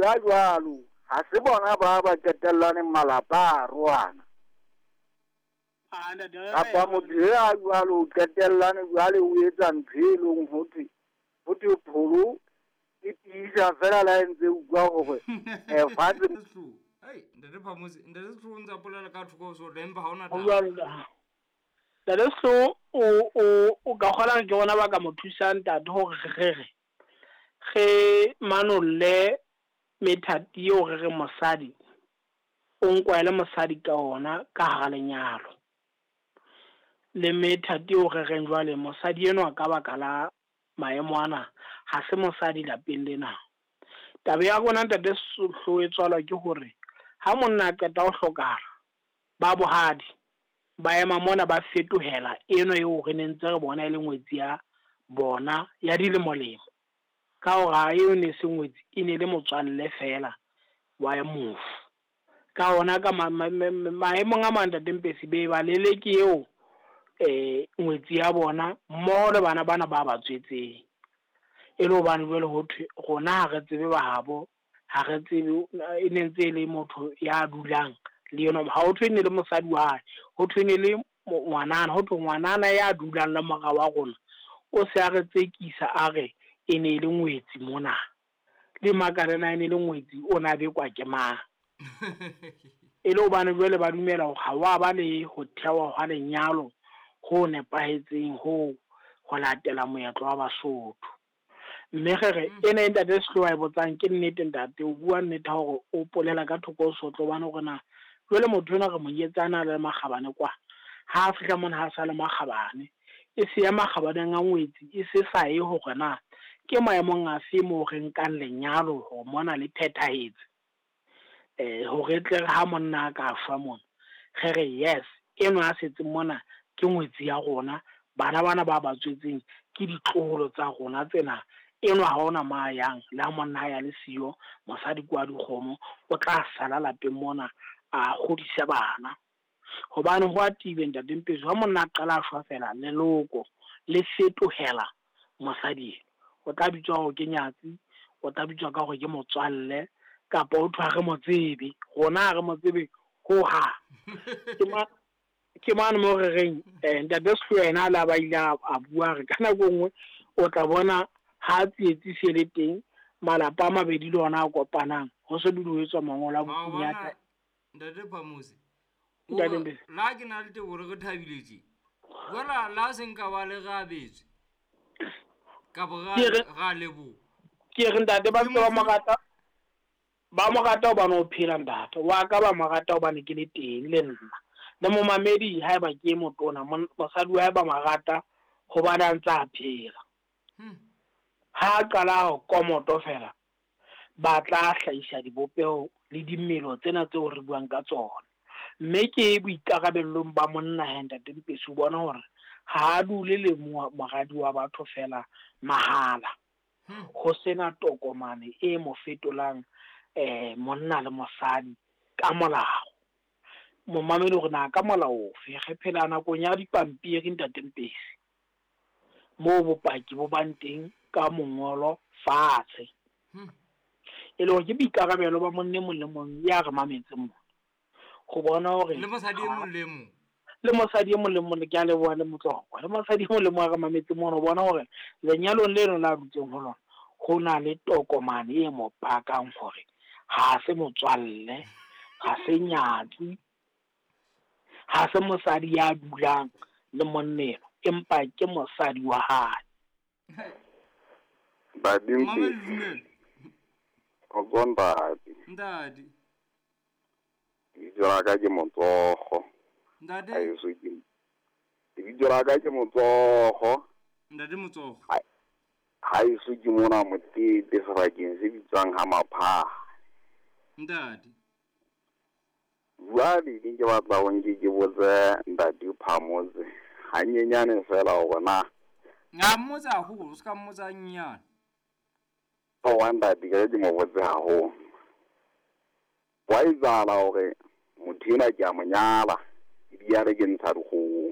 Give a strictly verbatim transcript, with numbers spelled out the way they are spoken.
ya jwalo ha se bona ba ba qetellaneng malapa a arohana. Ah, ntate Kapa motho ya jwalo o qetellane jwale o etsa ntho e leng ho thwe ho thwe pholo e tiisa fela la ntse utlwa hore eh fatshe. Hey, ntate Phamotse, ntate Sehloho ntse a polela ka thoko so empa ha hona Ho taba. jwalo ka ntate Sehloho o o o ka kgona ke bona ba ka mo thusang ntate hore re re re manolle methati eo re re mosadi o nkwa le mosadi ka ona ka hara lenyalo. Le methati eo re reng jwale mosadi enwa ka baka la maemo ana ha se mosadi lapeng lena. Taba ya rona ntate Sehloho e tswalwa ke hore ha monna a qeta ho hlokahala ba bohadi ba ema mona ba fetohela eno eo re ne ntse re bona e le ngwetsi ya bona ya dilemo-lemo. Ka hore ha eo ne se ngwetsi e ne le motswalle fela wa mofu. Ka hona ka maemong a mang ntate Mpesi be ba leleke eo eh ngwetsi ya bona mmoho le bana bana ba ba tswetseng. E le hobane jwale ho thwe rona ha re tsebe ba habo, ha re tsebe e ne ntse e le motho ya dulang le yena. Ha ho thwe ne le mosadi wa hae, ho thwe ne le ngwanana, ho thwe ngwanana ya dulang le mora wa rona o se a re tsekisa a re e ne le ngwetsi mona. Le makalena e ne le ngwetsi o na bekwa ke mang. E le hobane jwale ba dumela hore ha wa ba le ho thewa hwa lenyalo ho nepahetseng ho ho latela moetlo wa Basotho. Mme re re ena e ntate Sehloho a e botsang ke nnete ntate, o bua nnete hore o polela ka thoko ho sotlo hobane hore na jwale motho enwa re mo nyetse a na le makgabane kwa. Ha a fihla mona ha sa le makgabane, e se ya makgabaneng a ngwetsi e se sa ye hore na ke maemong afe moo re nkang lenyalo hore mona le phethahetse. Eh hore tle re ha monna a ka shwa mona re re yes enwa a setseng mona ke ngwetsi ya rona, bana bana ba ba tswetseng ke ditloholo tsa rona tsena. Enwa ha ona ma yang le ha monna ya le siyo mosadi kwa dikgomo o tla sala lapeng mona a hodisa bana. Hobane ho a tibe ntate Mpesi ha monna a qala a shwa fela leloko le fetohela mosadi, o tla bitswa hore ke nyatsi, o tla bitswa ka hore ke motswalle kapa o thwe ha re mo tsebe, rona ha re mo tsebe ho hang. Ke ma ke mane mo re reng eh ntate Sehloho yena a la ba ile a bua re ka nako nngwe o tla bona ha tsietsi se le teng malapa a mabedi le ona a kopanang ho se dule ho etswa mangolo a bokunyata. Ntate Phamotse, Ntate Mpesi, la ke na le teboho re thabile tje. Jwale la se nka ba le rabetswe ka bo ra ra leboha. Ke re ntate ba ba mo rata, ba mo rata hobane o phela ntate wa ka, ba mo rata hobane ke le teng le nna. Le momamedi haeba ke motona mosadi wa hae ba mo rata hobane a ntse a phela. Ha qala ho komoto fela ba tla hlahisa dibopeho le dimelo tsena tseo re buang ka tsona. Mme ke boikarabellong ba monna he ntate Mpesi o bona hore ha a dule le moradi wa batho fela mahala. Ho sena tokomane e mo fetolang eh monna le mosadi ka molao. Momamedi hore na ka molao ofe re phela nakong ya dipampiri ntate Mpesi, moo bopaki bo bang teng ka mongolo fatshe. E le hore ke boikarabelo ba monna e mong le mong ya re mametseng mona ho bona hore le mosadi e mong le mong le mosadi e mong le mong ke a leboha le motswako le mosadi e mong le mong a re mametseng mona ho bona hore lenyalong leno la dutseng ho lona ho na le tokomane e mo pakang hore ha se motswalle, ha se nyatsi, ha se mosadi ya dulang le monneno empa ke mosadi wa hae. Ntate Mpesi, o ntate. Ntate. Lebitso la ka ke Motsogo. Ntate. Haeso ke lebitso la ka ke Motsogo. Ntate Motsogo. Haeso ke mona Motete sebakeng se bitswang ha Maphaha. Ntate. Jwale ke ke batla ho nke ke botse ntate Phamotse hanyenyane fela hore na nga mmotsa haholo, o ska mmotsa hanyenyane. Wa ntate ke ke mo botse haholo. Wa etsahala hore motho enwa ke a mo nyala ebile ke ntsha dikgomo.